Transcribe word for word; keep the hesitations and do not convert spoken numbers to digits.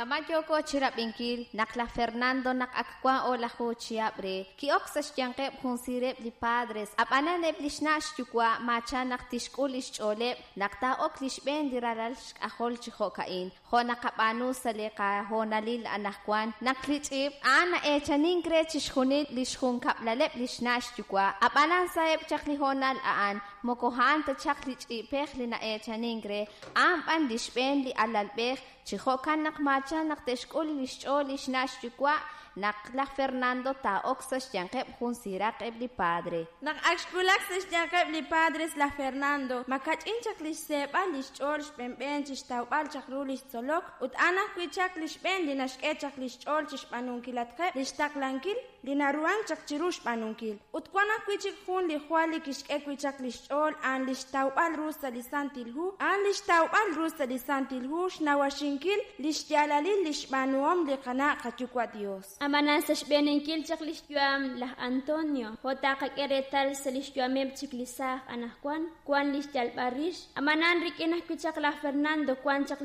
Kama' yooko chi rab'inkil naq laj Fernando naq ak wan o'laju chihab' re, ki'ok sa' xyanqeb' jun siireb' li padres, ab'anan eb' li xna' xyuwa' maacha naq tixk'ul li xch'ooleb' naq taa'ok li xb'een li ralal xk'ajol chi jo'ka'in, jo' naqab'aanu sa' li qahoonalil anaqwan naq li ch'i'p a'an na'eechanink re chixjunil li xjunkab'laleb' li xna' xyuwa', ab'anan sa'eb' chaq li hoonal a'an moko a'an ta chaq li ch'i'pej li na'eechanink re, a'an b'an li xb'een li alalb'ej chi jo'kan naq maacha naq te'xk'ul li xch'ool li xna' xyuwa' naq laj Fernando taa'ok sa' xyanqeb' jun siiraq eb' li padre. Naq ak xwulak sa' xyanqeb' li padres laj Fernando, makach'in chaq li xseeb'al li xch'ool xb'enb'en chi xtawb'al chaq ru li xtzolok ut a'an ajwi' chaq li xb'een li naxk'e chaq li xch'ool chi xb'aanunkilatqeb' li xtaqlankil li naruhank chaq chiru xb'aanunkil. Ut wan ajwi' chik jun li jwal li kixk'e wi' chaq li xch'ool a'an li xtawb'al ru sa' li Santil Hu, a'an li xtawb'al ru sa' li Santil Hu xnawaxinkil li xyaalalil li xb'aanuhom li qana' qayuwa' Dios. Ab'anan sa' xb'eenenkil chaq li xyu'am laj Antonio, jo' taqak'e reetal sa' li xyu'ameb' chik li saaj anaqwan, wan li xyalb'al rix, ab'anan rik'in ajwi' chaq laj Fernando wan chaq